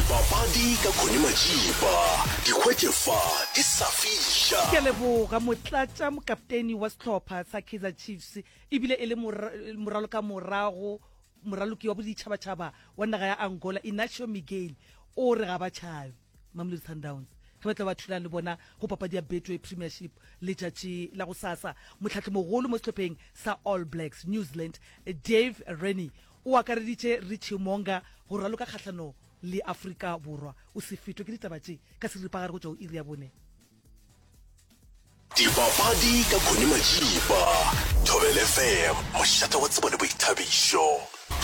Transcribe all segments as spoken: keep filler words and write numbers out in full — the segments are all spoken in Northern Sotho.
Dipapadi ka Connie Majiba, di hwetše fa di sa fiša. Ke a leboga motlatša mokapteni wa sehlopha sa Kaizer Chiefs ebile e le moralokamorago moraloki wa boditšhabatšhaba wa naga ya Angola Inacio Miguel o re ga ba tšhabe Mamelodi Sundowns ge ba tla ba thulana le bona go papadi ya Betway Premiership letšatši la gosasa. Mohlahlimogolo mo sehlopheng sa All Blacks New Zealand Dave Rennie o akareditše Richie Mo'unga go raloka kgahlano le Afrika Borwa. O se fetwe ke ditaba tše ka seripagare go tšwa go iri ya bone. Dipapadi ka Connie Majiba, Thobela F M, mošate wa tsebo le boithabišo.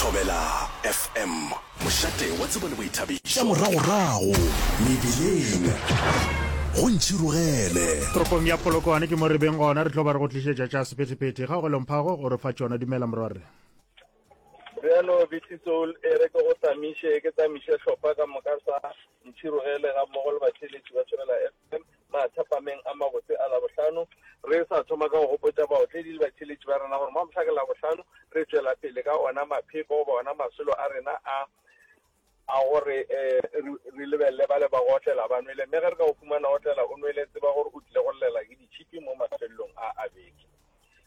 Thobela F M, mošate wa tsebo le boithabišo. Tša moragorago mebileng, go ntšhirogele. Toropong ya Polokwane ke mo re beng gona, re tlo ba re go tlišetša tša sephethephethe. Kgaogelo Mphago o re fa tšona. Dumela morwarre. Bjalo Bitty Soul, e re ke go tamiše, ke tamiše hlopha ka moka sa Ntšhirogele ga mmogo le batheeletši ba Thobela F M mathapameng a mabotse a Labohlano. Re sa thoma ka go gopotša baotledi le batheeletši ba rena gore mo mohla ke Labohlano re tšwela pele ka ona mapheko goba ona masolo a rena a a gore um re lebelele ba le ba go otlela ba nwele, mme ge re ka go fumana otlela o nwele, tseba gore o tlile go llela ke ditšhipi mo mafelelong a a beke.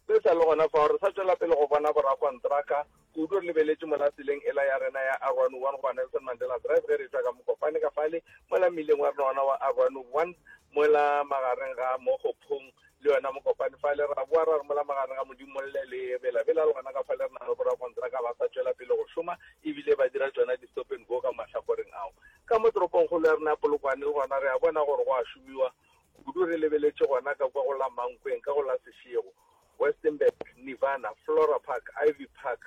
Re sa le gona fao, re sa tšwela pele go bona borakontraka kudu re lebeletše mola tseleng ela ya rena ya R one one goba Nelson Mandela Drive ge re etšwa ka Mokopane ka fale mola mmileng wa rena ona wa R one one mola magareng ga Mokgophong le yona Mokopane fale, ra boa ra re mola magareng ga Modimolle le Bela-Bela le gona ka fale re na le borakontraka ba sa tšwela pele go šoma ebile ba dira tšona di-stop and go ka mahlakoreng ao. Ka mo toropongkgolo ya rena ya Polokwane le gona re a bona gore go a šomiwa kudu re lebeletše gona ka kwa go la Mankweng ka go la Seshego, Westenburg, Nirvana, Flora Park, Ivy Park,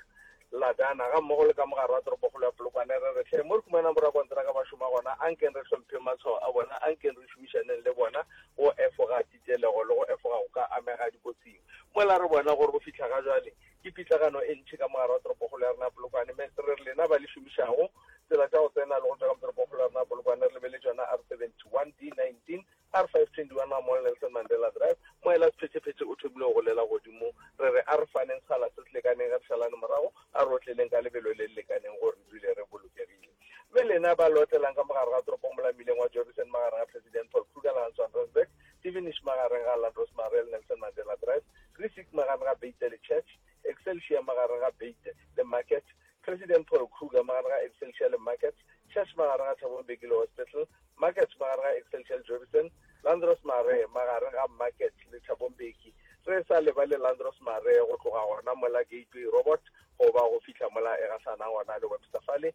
Ladana ga mmogo le ka mogare wa toropokgolo ya Polokwane. Re re hle mo re humanang borakontraka ba šoma gona, ankeng re hlompheng matshwao a bona, ankeng re šomišaneng le bona go efoga titelego le go efoga go ka amega dikotsing. Mola re bona gore go fihla ga jwale ke pitlagano e ntši ka mogare wa toropokgolo ya rena ya Polokwane, mme re re lena ba le šomišago tsela tša go tsena le go tšwa ka mo toropokgolo ya rena ya Polokwane, re lebeletše yona R seventy one, D nineteen, R five twenty one ga mmogo le Nelson Mandela Drive. Moela sephethephethe o thomile go golela godimo. Re re a re faneng sekgala se se lekaneng ge re šalane morago, a re otleleng ka lebelo le le lekaneng gore re dule re bolokegile. Mme lena ba le otlelang ka mogare ga toropo mola mmileng wa Jorissen magareng ga President Paul Kruger le Hans van Rensburg, Devenish magareng ga Landros Marais le Nelson Mandela Drive, Rissik magareng ga Beite le Church, Excelsior magareng ga Beite le Market, President Paul Kruger magareng ga Excelsior le Market, Church magareng ga Thabo Mbeki le Hospital, Market magareng ga Excelsior le Jorissen, Landros Marais magareng ga Market le Thabo Mbeki. Re sa lebale Landros Marais go tloga gona mola Gateway Robot goba go fihla mola e gahlanang gona le Webster fale.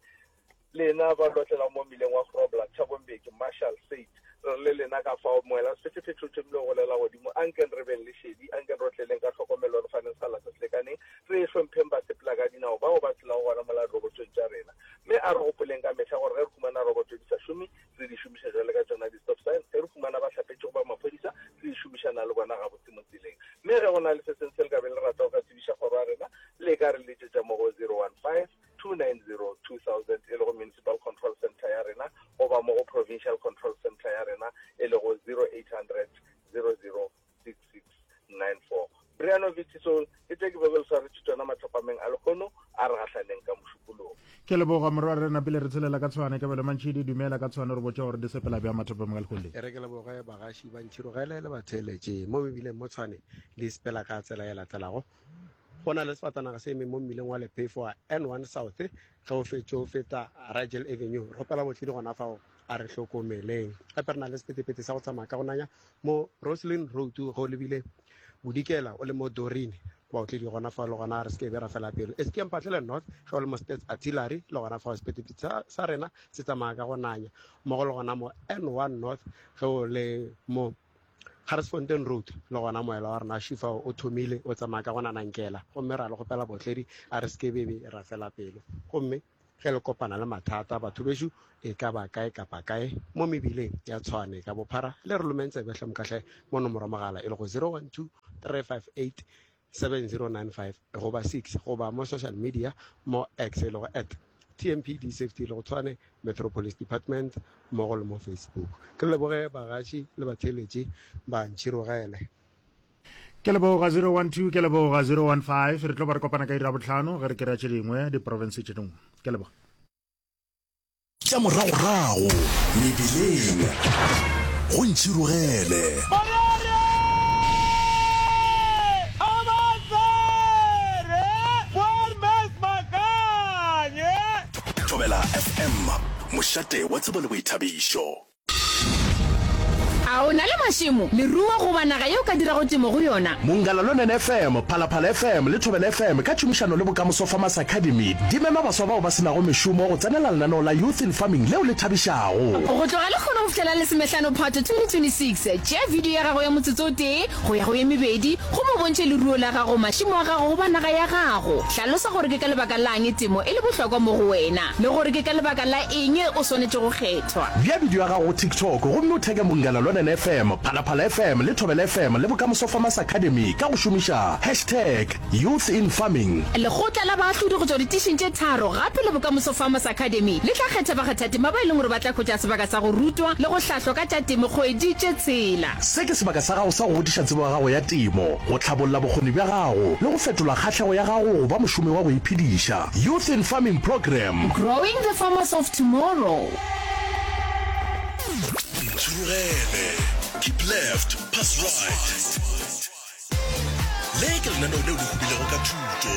Lena ba lotlela mo mmileng wa Grobler, Thabo Mbeki, Marshall State, re re le lena ka fao moela sephethephethe o thomile go golela godimo. Ankeng re beng le šedi, ankeng re otleleng ka tlhokomelo, re faneng sekgala se se lekaneng, re hlompheng basepela ka dinao bao ba tshelago gona mola dirobotong tša rena. Mme a re gopoleng ka mehla gore ge re humana roboto di sa šome, re di šomiša jwale ka tšona di-stop sign. Ge re humana bahlapetši goba maphodisa, re di šomišana le bona gabotse mo tseleng. Mme ge go na le se sengwe se le ka beng le rata go ka tsebiša kgoro ya rena, le ka re letšetša mo go zero one five two nine zero two thousand e lego Municipal Control Centre ya rena, goba mo go Provincial Control Centre ya rena e lego zero eight hundred zero zero six six nine four. Briano Vittisol, ke tše ke bego le swaretše tšona mathapameng a lekgono, a re gahlaneng ka Mošupologo. Ke leboga morwa rena pele re tshelela ka Tshwane. Kabelo Mantšhidi, dumela ka Tshwane, re botša gore di sepela bjang mathapameng a lekgono le. E re ke leboge bagaši ba Ntšhirogele le batheeletše mo mebileng mo Tshwane di sepela ka tsela e latelago. Go na le sefatanaga se emeng mo mmileng wa Lephefo wa N one South ge o fetše o feta Rigel Avenue. Re kgopela botledi gona fao a re hlokomeleng. Gape re na le sephethephethe sa go tsamaya ka go nanya mo Roslyn Road ge o lebile Bodikela o le mo Doreen. Baotledi gona fao le gona re se ke be ra fela pelo. S K Mphahlele North ge o le mo States Artillery le gona fao sephethephethe sa, sa rena se tsamaya ka go nanya. Mmogo le gona mo N one North ge o le mo Garsfontein Road le gona moela wa rena šufa o thomile o tsamaya ka go nanankela, gomme ra le kgopela botledi a re se ke bebe ra fela pelo. Gomme ge le kopana le mathata batho bešo e ka ba kae kapa kae mo mebileng ya Tshwane ka bophara, le re lomeng tsebe hle mokahle mo nomoro mogala e lego zero one two three five eight seven zero nine five goba six, goba mo social media mo X e lego at T M P D Safety e lego Tshwane Metro Police Department, mmogo le mo Facebook. Ke leboge bagaši le batheeletši ba Ntšhirogele. Ke leboga zero one two, ke leboga zero one five. Re tlo ba re kopana ka iri ya bohlano ge re kry-a tše dingwe diprovince tše dingwe. Ke leboga. Tša moragorago mebileng go Ntšhirogele. Thobela F M, mošate wa tsebo le boithabišo. A o na le mašemo, leruo goba naga ye o ka dirago temo go yona? Mongala Lonene F M, Phalaphala F M le Thobela F M ka tšhomišano le Bokamoso Farmers Academy di mema baswa bao ba se nago mešomo go tsenela lenaneo la Youth in Farming leo le thabišago. Go tloga lehono go fihlela lesomehlano Phato twenty twenty-six, tšea video ya gago ya motsotso o tee go ya go ye mebedi gomme o bontšhe leruo la gago, mašemo a gago goba naga ya gago. Hlalosa gore ke ka lebaka la'ng temo e le bohlokwa mo go wena le gore ke ka lebaka la eng o swanetše go kgethwa. Bea video ya gago go TikTok gomme o theke Munghana Lonene F M, Phalaphala F M le Thobela F M le Bokamoso Farmers Academy ka go šomiša hashtag Youth In Farming. Lekgotla la baahlodi go tšwa ditišing tše tharo gape le Bokamoso Farmers Academy le tla kgetha bakgathatema ba e leng gore ba tla hwetša sebaka sa go rutwa le go hlahlwa ka tša temo kgwedi tše tshela. Se ke sebaka sa gago sa go godiša tsebo ya gago ya temo, go hlabolla bokgoni bja gago le go fetola kgahlego ya gago go ba mošomi wa go iphediša. Youth in Farming Programme. Growing the farmers of tomorrow. Ntshurugele, keep left, pass right. Le ke lenaneo leo le hubilego ka thuto.